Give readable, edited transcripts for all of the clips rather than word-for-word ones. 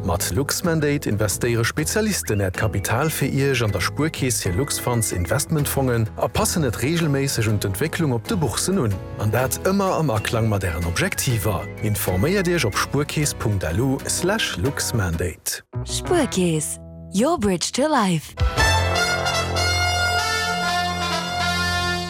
Mat Luxmandate investéiere Spezialisten Äert Kapital fir Iech an der Spuerkeess hir Luxfunds Investmentfongen a passen et reegelméisseg un d'Entwécklung op de Bourssen un. An dat ëmmer am Aklang mat Ären Objektiver. Informéiert Iech op spuerkeess.lu slash luxmandate. Spuerkeess, your bridge to life.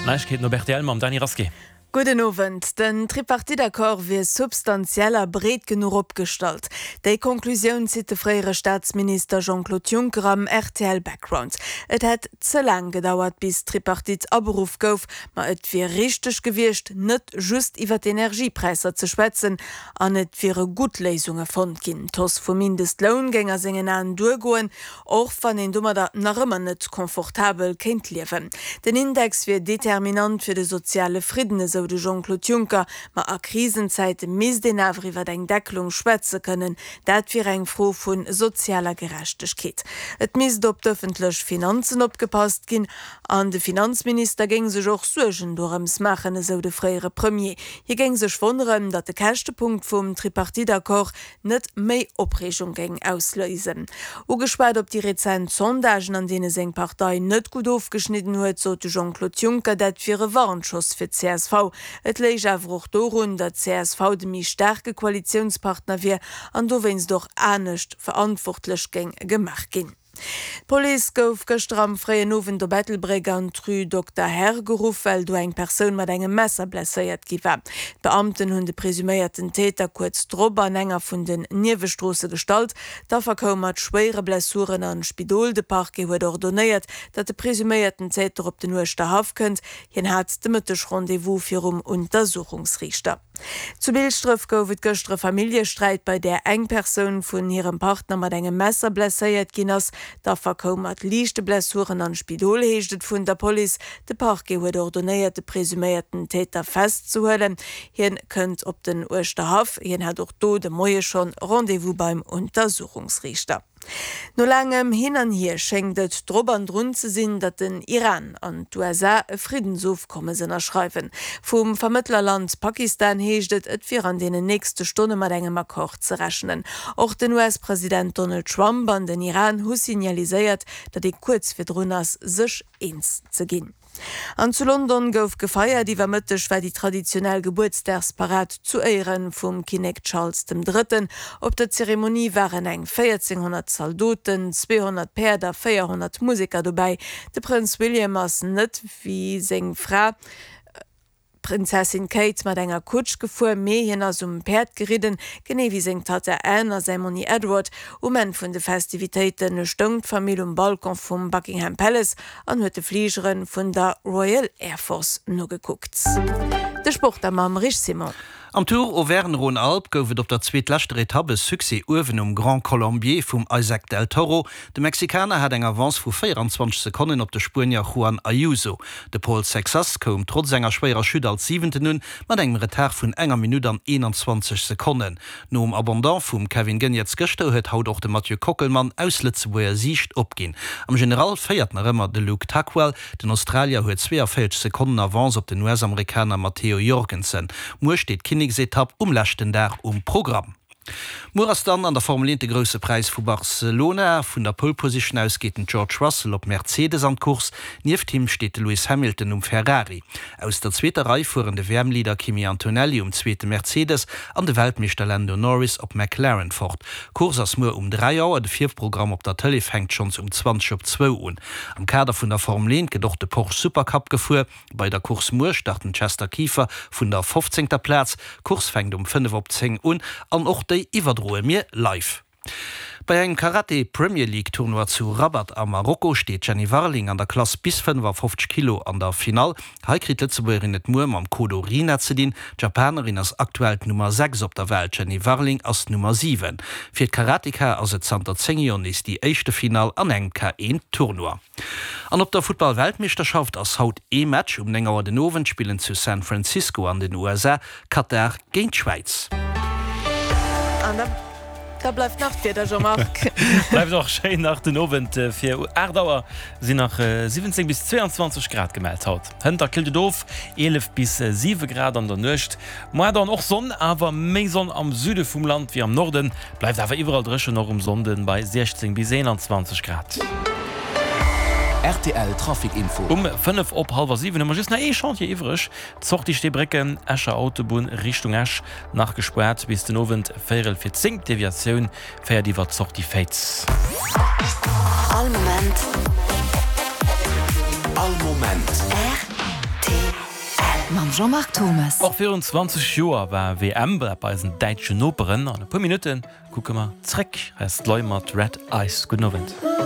Neiegkeeten op rtl mam Dany Rasqué. Gudden Owend. Den Tripartite-Accord wier substantiell a breet genuch opgestallt. Déi Conclusioun zitt de fréiere Staatsminister Jean-Claude Juncker am rtl Background. Et hätt ze laang gedauert, bis d'Tripartite aberuff gouf, ma et wier richteg gewiescht, net just iwwer d'Energiepräisser ze schwätzen an et wiere gutt Léisunge fonnt ginn. D'Hausse vum Mindestloun géing a sengen Aen duergoen, Och wann een domadder nach ëmmer net confortabel kéint liewen. Den Index wier determinant fir de soziale Fridden, esou de Jean-Claude Juncker. Ma a Krisenzäite misst een awer iwwer eng Deckelung schwätze kënnen. Dat wier eng Fro vu sozialer Gerechtegkeet. Et misst op d'ëffentlech Finanzen opgepasst ginn. An de Finanzminister géing sech och Suergen dorëms maachen, esou de fréiere Premier. Hie géing sech wonneren, datt de Käschtepunkt vum Tripartite-Accord net méi Opreegung géing ausléisen. Ugeschwat op déi rezent Sondagen, an deene seng Partei net gutt ofgeschnidden huet, sot de Jean-Claude Juncker, dat wier e Warnschoss fir d'CSV. Et léich awer och dorun, datt d'CSV de méi staarke Koalitiounspartner wier an dowéinst och anescht verantwortlech géing gemaach ginn. D'Police gouf gëschter am fréien Owend op Ettelbréck an d'Rue Dokter Herr geruff, well do eng Persoun mat engem Messer blesséiert gi war. D'Beamten hunn de presuméierten Täter kuerz drop an enger vun den Niewestroosse gestallt. D'Affer koum mat schwéiere Blessuren an d'Spidol. De Parquet huet ordonéiert, datt de presuméierten Täter op den Uerschterhaff kënnt. Hien hat de Mëtteg Rendez-vous virum Untersuchungsriichter. Zu Bilschdref gouf et gëschter e Familljesträit, bei där eng Persoun vun hirem Partner mat engem Messer blesséiert ginn ass. D'Affer koum mat liichte Blessuren an d'Spidol, heescht et vun der Police. De Parquet huet ordonéiert, de presuméierten Täter festzehuelen. Hien kënnt op den Uerschterhaff. Hien hat och do de Moie schonn Rendez-vous beim Untersuchungsriichter. No laangem Hin an Hier schéngt et drop an drun ze sinn, datt den Iran an d'USA e Friddensofkommes ënnerschreiwen. Vum Vermëttlerland Pakistan heescht et, et wier an deenen nächste Stonne mat engem Accord ze rechnen. Och den US-President Donald Trump an den Iran hu signaliséiert, datt ee kuerz virdrun ass, sech eens ze ginn. An zu London gouf gefeiert. Iwwer Mëtteg war déi traditionell Gebuertsdagsparad zu Éiere vum Kinnek Charles dem Drëtten. Op der Zeremonie waren eng 1.400 Zaldoten, 200 Päerd a 400 Museker dobäi. De Prënz William ass net wéi seng Fra, D'Prinzessin Kate mat enger Kutsch gefuer, mee hien ass um Päerd geridden, genee wéi seng Tatta Anne a säi Monni Edward. Um Enn vun de Festivitéite stoung d'Famill um Balcon vum Buckingham Palace an huet de Fligere vun der Royal Air Force nogekuckt. De Sport da mam Rich Simon. Am Tour Auvergne-Rhône-Alpes gouf et op der zweetleschter Etapp e Succès uewen um Grand Colombier vum Isaac Del Toro. De Mexikaner hat eng Avance vu 24 Sekonnen op de Spuenier Juan Ayuso. De Paul Sexas koum trotz enger schwéierer Chute als Siwenten un, mat engem Retard vun enger Minutt an 21 Sekonnen. Nom Abandon vum Kevin Geniets gëschter huet haut och de Mathieu Kockelmann aus Lëtzebuerger Siicht opginn. Am General féiert nach ëmmer de Luke Tuckwell. Den Australier huet 42 Sekonnen Avance op den US-Amerikaner Matteo Jorgensen. Muer steet d'Kinneksetapp um leschten Dag um Programm. Muer ass dann an der Formel 1 de Grousse Präis vu Barcelona. Vun der Pole Position aus geet den George Russell op Mercedes an d'Course. Nieft him steet de Lewis Hamilton um Ferrari. Aus der zweeter Rei fueren de WM-Leader Kimi Antonelli um zweete Mercedes an de Weltmeeschter Lando Norris op McLaren fort. D'Course ass muer um 3 Auer. De Virprogramm op der Tëlee fänkt schonns um 20 op zwou un. Am Kader vun der Formel 1 gëtt och de Porsche Supercup gefuer. Bei der Course muer start den Chester Kieffer vun der fofzéngter Plaz. D'Course fänkt um 5 op 10 un an och déi iwwerdroe mir live. Bei engem Karate Premier League Tournoi zu Rabat a Marokko steet d'Jenny Warling an der Klass bis 55 Kilo an der Finall. Hei kritt d'Lëtzebuergerin et muer mam Kodo Rina ze dinn. D'Japanerin ass aktuell d'Nummer 6 op der Welt, d'Jenny Warling ass d'Nummer 7. Fir d'Karateka ass et zanter 10 Joer nees déi éischte Finall an engem K1 Tournoi. An op der Futtball-Weltmeeschterschaft ass haut ee Match. Um 9 Auer den Owend spillen zu San Francisco an den USA Katar géint d'Schwäiz. Da bleift nach d'Wieder, Jean-Marc. Bleift och schéin nach den Owend. Fir 8 Auer sinn nach 17 bis 22 Grad gemellt haut. Hënt killt et of, 11 bis 7 Grad an der Nuecht. Moar dann och Sonn, awer méi Sonn am Süde vum Land wéi am Norden. Bleift awer iwwerall dréchen, och um Sonnde bei 16 bis 21 Grad. Rtl Trafic Info. Um 5 op hallwer 7 hu mer just nach ee Chantier iwwreg, d'Sortie Steebrécken, Escher Autobunn Richtung Esch, nach gespaart bis den Owend véierel fir 10. D'Deviatioun féiert iwwer d'Sortie Féiz. All Moment. All Moment. Rtl. Mam Jean-Marc Thomes. Och virun 20 Joer war WM bei eisen däitschen Noperen. An e puer Minutte kucke mer zréck. Hei ass d'Loi mat Red Ice. Gudden Owend.